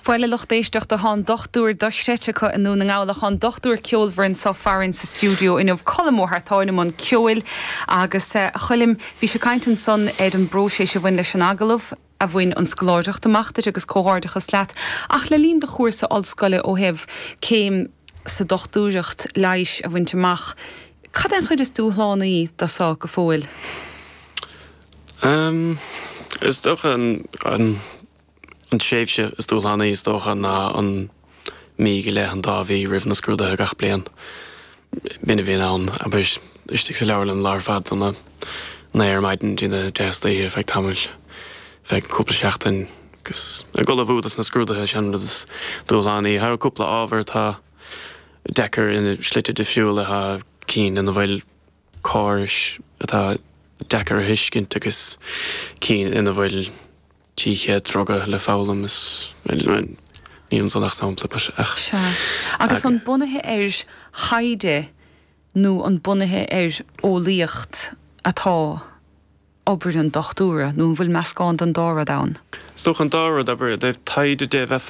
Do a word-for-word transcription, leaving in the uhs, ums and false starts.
Bhuel, a lucht éisteachta, tá an dochtúir dochreidte acu i nDún na nGall, tá an dochtúir ceolmhar anseo farainn sa stiúideo inniu, Colm Ó hEartáin i mbun ceoil agus a Choilm, bhí sé caint ansan ar an bpróiseas a bhain leis an agallamh a bhain an scoláireacht amach duit agus comhghairdeachas leat, ach le linn do chúrsa ollscoile ó thaobh céim sa dochtúireacht leighis a bhaint amach, cad é an chuid is dúshlánaí de seo go fóill? Um, is dócha an, an, an tréimhse is dúshlánaí is dócha ná an mí go leith, an dá mhí roimh na scrúduithe gach bliain. B'in a bhíonn ann, abair, istigh sa leabharlann lá ar fad óna naoi ar maidin dtí na deich istoíche feadh tamaill, feadh cúpla seachtain agus ag ullmhú dos na scrúduithe, sin an rud is dúshlánaí. Tá cúpla ábhar atá deacair ina slite difriúla, tá cinn ina bhfuil córais atá deacair a thuiscint agus cinn ina bhfuil trí chéad druga le foghlaim is níl ansan ach sampla but ach. Sea. Agus an bunaithe ar thaighde nó an bunaithe ar eolaíocht atá obair an dochtúra nó an bhfuil meascán den dá rud ann? Is dócha an dá rud, abair, i dtaobh taighde de bheith